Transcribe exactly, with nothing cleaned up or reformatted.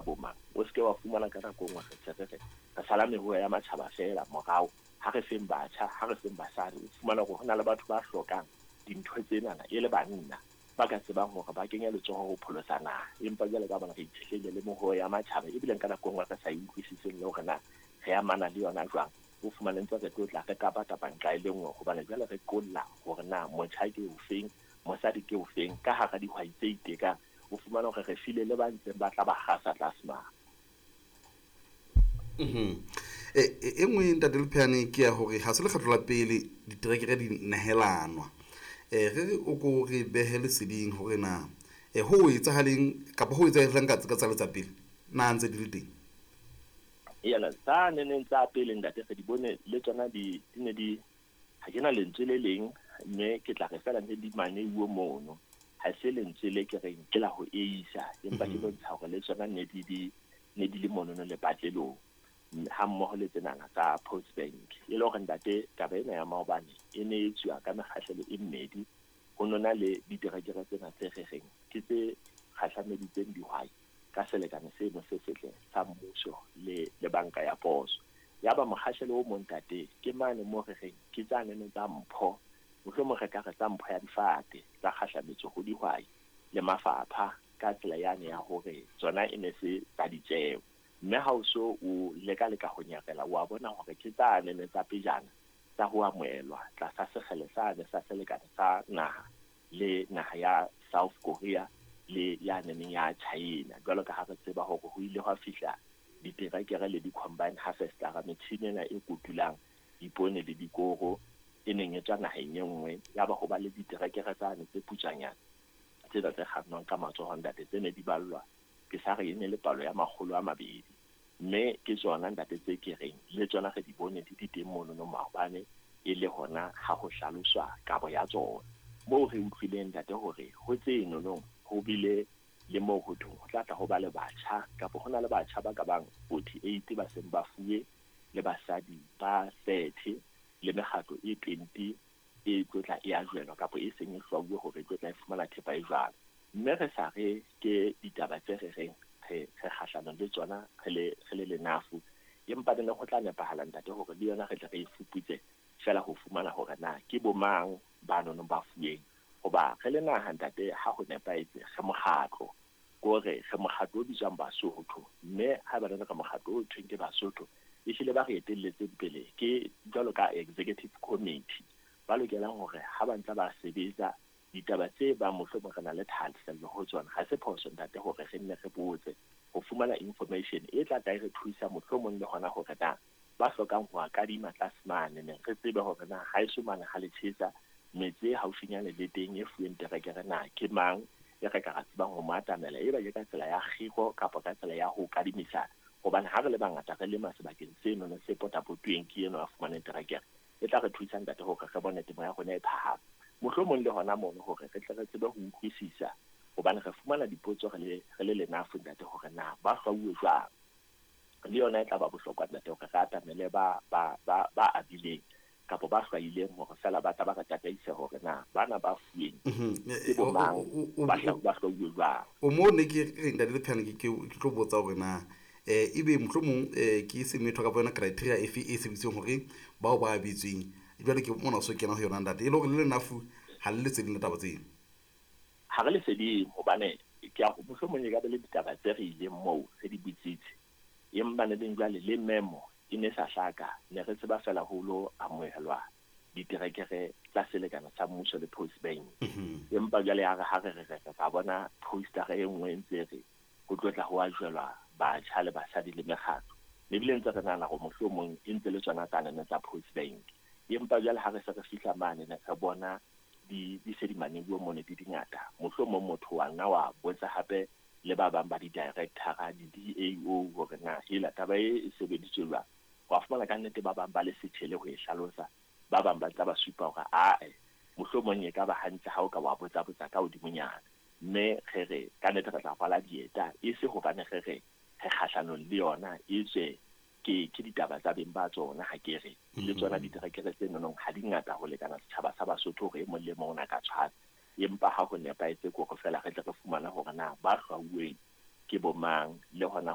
Bomang o se ke wa fumana ka nako nngwe re se re re re sala meruo ya matjhaba feela morao, ha re feng batjha, ha re feng basadi. O fumana hore ho na le batho ba hlokang dintho tsenana e le banna ba ka tsebang hore ba kenye letsoho ho pholosa naha, empa jwale ka bona re itshetlehile le meruo ya matjhaba, ebile ka nako nngwe re sa e utlwisiseng le hore na re amana le yona jwang. O fumane ntse re tlo tla re kapa kapa nqa e le nngwe, hobane jwale re qolla hore na motjha ke ofeng, mosadi ke ofeng ka hara dihwai tse itekang. O fumana hore re file le ba ntseng ba tla ba kgasa tlase mane. Mhm. E e nngwe ntate Lepheane ke ya hore ha se lekgetlo la pele diterekere di nehelanwa. Eh re re o ko re behe leseding hore na eh ho etsahaleng kapa ho etsahalang ka ka tsa pele na ntse di le teng. Yena tsa neneng tsa pele ntate re di bone le tsona di di ne di, ha ke na lentswe le leng, mme ke tla re fela ne di maneuwe mono. Ha se lentswe le ke reng ke la ho eisa, empa ke bontsha hore le tsona ne di di ne di le monono lepatlelong ha mmoho le tsenana tsa Post Bank. E le hore ntate taba ena ya maobane e ne e tswa ka mekgahlelo e mmedi. Ho nona le diterekere tsena tse re reng ke tse kgahlameditseng dihwai ka selekane seno se setle sa mmuso le le banka ya poso. Ya ba mokgahlelo o mong ntate ke mane mo re reng ke tsa nene tsa mpho, mohlomong re ka re tsa mpho ya difate tsa kgahlametso ho dihwai le mafapha ka tsela yane ya hore tsona e ne se tsa ditjeo. Mme ha o so o leka leka ho nyarela, wa bona hore ke tsa nene tsa pejana tsa ho amohelwa tlasa sekgele sane sa selekane sa naha le naha ya South Korea le ya neneng ya China. Jwalo ka ha re tseba hore ho ile hwa fihla diterekere le di-combine harvester, metjhini ena e kotulang dipoone le dikoro e neng e tswa naheng e nngwe. Ya ba ho ba le diterekere tsane tse putswanyana tsena tse kgannwang ka matsoho ntate, tse ne di ballwa ke sa re e ne le palo ya makgolo a mabedi. Mme ke tsona ntate tse ke reng le tsona re di bone di di teng monono maobane, e le hona ha ho hlaloswa kabo ya tsona. Moo re utlwileng ntate hore ho tse nonong ho bile le moo ho thweng ho tla tla ho ba le batjha, kapa ho na le batjha ba ka bang forty-eight ba seng ba fuwe, le basadi ba thirty, le mekgatlo e twenty e tlo tla e ajwelwa kapa e seng e hlwauwe hore e tlo tla e fumana thepa e jwalo. Mme re sa re ke ditaba tse re reng re re kgahlanong le tsona re le re le lenafu, empa ne ho tla nepahala ntate hore le yona re tle re e fuputse fela ho fumana hore na ke bo mang ba nonong ba fuweng. Hoba re le naha ntate ha ho nepahetse re mokgatlo, kore re mokgatlo o bitswang Basotho, mme ha ba re re mokgatlo o thweng ke Basotho, ehlile ba re etelletseng pele ke jwalo ka executive committee ba lokelang hore ha ba ntse ba sebetsa ditaba tse bang mohlomong re na le thahasello ho tsona. Ha se phoso ntate hore re nne re botse ho fumana information e tla tla e re thusa mohlomong le hona hore na ba hlokang ho kadima tlase mane, ne re tsebe hore na ha eso mane ha le tjhesa metse e haufinyane le teng e fuweng terekere na ke mang e re ka ra tsebang ho mo atamela, e ba ke ka tsela ya kgiro kapa ka tsela ya ho kadimisana. Hobane ha re le bangata re lema sebakeng seno se potapotuweng ke eno a fumaneng terekere, e tla re thusa ntate hore re bone temo ya rona e phahama. Mohlomong le hona mono hore re tle re tsebe ho utlwisisa, hobane re fumana dipotso re le re le lenafu ntate hore na ba hlwauwe jwang. Le yona e tla ba bohlokwa ntate hore re atamele ba ba ba ba abileng kapa ba hlwaileng hore fela ba tla ba re tataise hore na bana ba fuweng ke bo mang, ba ba hlwauwe jwang. O mo ne ke re ntate Lepheane ke ke tlo botsa hore na eh ebe mohlomong eh ke semetho kapa yona criteria efe e sebedisitsweng hore bao ba abetsweng jwale ke mona o so kena ho yona ntate, e le hore le lenafu ha le leseding la taba tseno. Ha re leseding hobane ke a mohlomong e ka be le ditaba tse re ileng moo re di botsitse, empa ne leng jwale le memo e ne sa hlaka, ne re tseba fela ho lo amohelwa diterekere tsa selekane sa mmuso le Post Bank. Empa jwale ya re ha re re re ka bona poster e nngwe e ntse re ho tlo tla ho ajwelwa batjha le basadi le mekgatlo, ebile ntse re nahana hore mohlomong e ntse le tsona tsa nene tsa Post Bank. Empa jwale ha re se re fihla mane ne re bona di di se di maneuwe mone di dingata, mohlomong motho wa nna wa botsa hape le ba bang ba di-director-a, di-D A O hore na hela taba e e sebeditswe jwang. Wa fumana ka nnete ba bang ba le setjhele ho e hlalosa, ba bang ba tla ba supa hore ae mohlomong e ka ba hantle ha o ka wa botsa botsa ka hodimonyana. Mme re re ka nnete re tla rwala dieta, e se hobane re re re kgahlanong le yona, e tswe ke ke ditaba tsa beng ba tsona. Ha ke re le tsona diterekere tse nonong ha di ngata ho lekana setjhaba sa Basotho hore e mong le mong o na ka tshwana, empa ha ho nepahetse ke hore fela re tle re fumane hore na ba hlwauweng Ke bomang le hona